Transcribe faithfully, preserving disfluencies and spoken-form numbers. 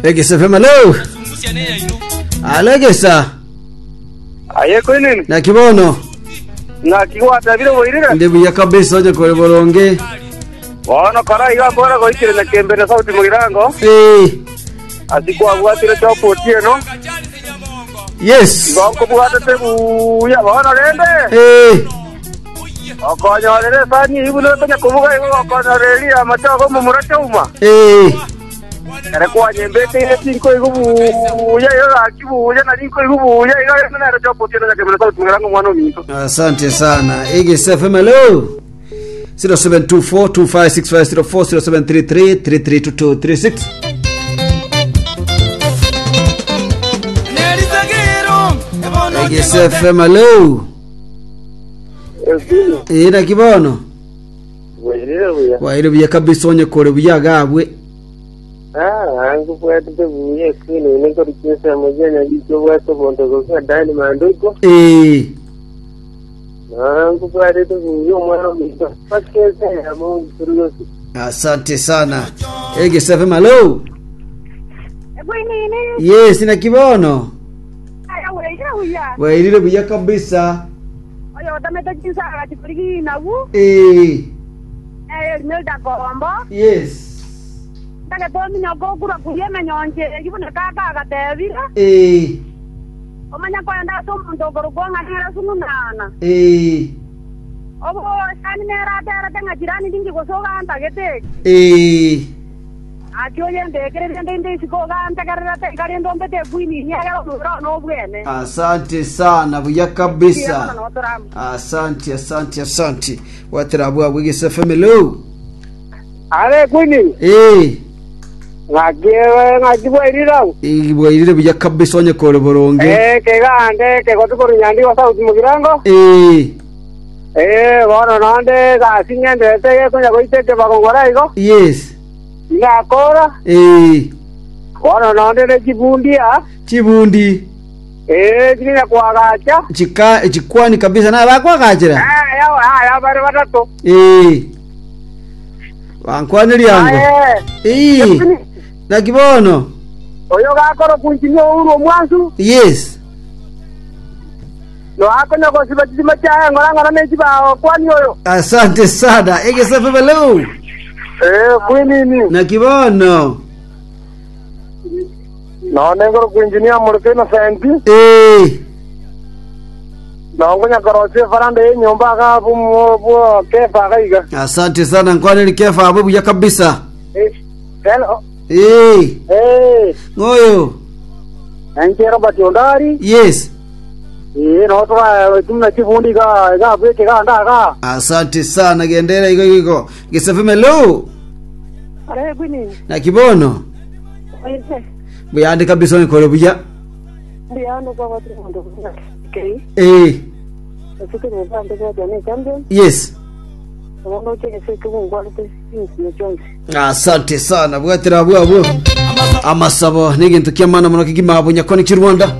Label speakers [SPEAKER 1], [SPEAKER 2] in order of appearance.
[SPEAKER 1] Egesa F M, hello. Alegesa.
[SPEAKER 2] Aye kwinini.
[SPEAKER 1] Naki bono?
[SPEAKER 2] Naki gwatabire, boirire?
[SPEAKER 1] Ndi buya kabisa, onye kore boronge.
[SPEAKER 2] Bono kora iga mbora goikire na kembe na sauti mugirango.
[SPEAKER 1] Eh.
[SPEAKER 2] Asikwabwatire chopoti eno.
[SPEAKER 1] Yes.
[SPEAKER 2] Igonkobwatete buya bono rende.
[SPEAKER 1] Eh.
[SPEAKER 2] Okonyorere sani ibuno tonya kubuga igo okonyoreria amachogo mumura chauma.
[SPEAKER 1] Eh.
[SPEAKER 2] Ere kwanyembete ire tinko igo buya igo gaki buya na tinko igo buya igo nero chopoti eno na kembe na sauti mugirango mwana ominto.
[SPEAKER 1] Asante sana. Egesa F M, hello. zero seven two four two five six five zero four, zero seven three three three three two two three six. Egesa F M, hello. Eh, naki bono?
[SPEAKER 2] Boirire buya.
[SPEAKER 1] Waire buya kabisa, onye kore buya gabwe.
[SPEAKER 2] Ah, nkubwatete buya kwini nkorikisa mujenya gikyo bwate bonto goka dani manduko.
[SPEAKER 1] Eh.
[SPEAKER 2] Ah, nkubwatete buya omwana ominto. Pakese ya Mungu turugosi.
[SPEAKER 1] Asante sana. Egesa F M, hello.
[SPEAKER 3] Bwinini.
[SPEAKER 1] Yes, naki bono?
[SPEAKER 3] Aya weire buya.
[SPEAKER 1] Wairire buya kabisa.
[SPEAKER 3] Oyo otamete chinsaga chikurigi nabu.
[SPEAKER 1] Eh.
[SPEAKER 3] Eh, Milda Kombo.
[SPEAKER 1] Yes.
[SPEAKER 3] Ndage tominya gokura kuria emenyonche ibune kaka agatebire.
[SPEAKER 1] Eh.
[SPEAKER 3] Omanya kwenda ase omonto okorokwa ng'anera sung'unana.
[SPEAKER 1] Eh.
[SPEAKER 3] Obo sani neraterete ng'a jirani ndingi gose ogantagete.
[SPEAKER 1] Eh.
[SPEAKER 3] Aki oye ndekererie ndi ndi isiko ogantegererete ikarinde ombete kwinini egera omobere one obwene.
[SPEAKER 1] Asante sana, buya kabisa.
[SPEAKER 3] Notoramu.
[SPEAKER 1] Asante, asante, asante. Watera bwa Egesa F M, hello.
[SPEAKER 2] Are kwini.
[SPEAKER 1] Eh.
[SPEAKER 2] Ngaki ngaki bwairira.
[SPEAKER 1] Ibwairire buya kabisa, onye kore boronge.
[SPEAKER 2] Eh, kegande kegotukuru nyandi wa sauti mugirango.
[SPEAKER 1] Eh.
[SPEAKER 2] Eh, bono nonde gasi ng'endete gekonya goitete bagongora igo.
[SPEAKER 1] Yes.
[SPEAKER 2] Ngakora.
[SPEAKER 1] Eh.
[SPEAKER 2] Bono nonde ne chibundia.
[SPEAKER 1] Chibundi.
[SPEAKER 2] Eh, china kwagacha.
[SPEAKER 1] Chika chikwani kabisa na bakwagachira.
[SPEAKER 2] Eh, ya ya ya bari batatu.
[SPEAKER 1] Eh. Wankwani lyango.
[SPEAKER 2] Eh.
[SPEAKER 1] Eh. Naki bono?
[SPEAKER 2] Oyo gakoro kunchimia uru omwansu.
[SPEAKER 1] Yes.
[SPEAKER 2] No akonya gosiba chisima chaye ngora ngora ne chibao kwani oyo.
[SPEAKER 1] Asante sana. Egesa F M, hello.
[SPEAKER 2] Eh, kwinini.
[SPEAKER 1] Naki bono?
[SPEAKER 2] No nengoro kuinjinia murike Innocent.
[SPEAKER 1] Eh.
[SPEAKER 2] No ngonya korosie faranda ye nyumba ga bu bu kefa gaiga.
[SPEAKER 1] Asante sana, nkwani kefa abo buya kabisa.
[SPEAKER 2] Eh. Hello.
[SPEAKER 1] Eh.
[SPEAKER 2] Eh,
[SPEAKER 1] Ngoyo.
[SPEAKER 2] enche Robert Ondari.
[SPEAKER 1] Yes.
[SPEAKER 2] Eh, no tura tumna chifundi ga ga bweke ga ndaga.
[SPEAKER 1] Asante sana, gendera iko iko. Egesa F M, hello.
[SPEAKER 3] Are kwinini.
[SPEAKER 1] Naki bono?
[SPEAKER 3] Oye.
[SPEAKER 1] Buyande kabisa, nkore buya.
[SPEAKER 3] Ndiano kwa watu ndo okay.
[SPEAKER 1] Eh.
[SPEAKER 3] Asuke mubande kwa jane champion.
[SPEAKER 1] Yes.
[SPEAKER 3] Ondo cheke sike kungwalite sinsi chonse.
[SPEAKER 1] Asante sana, bwatira bwabo. Amasabo n'egintu ky'amaana muno kigima bunyakoni ky'u Rwanda.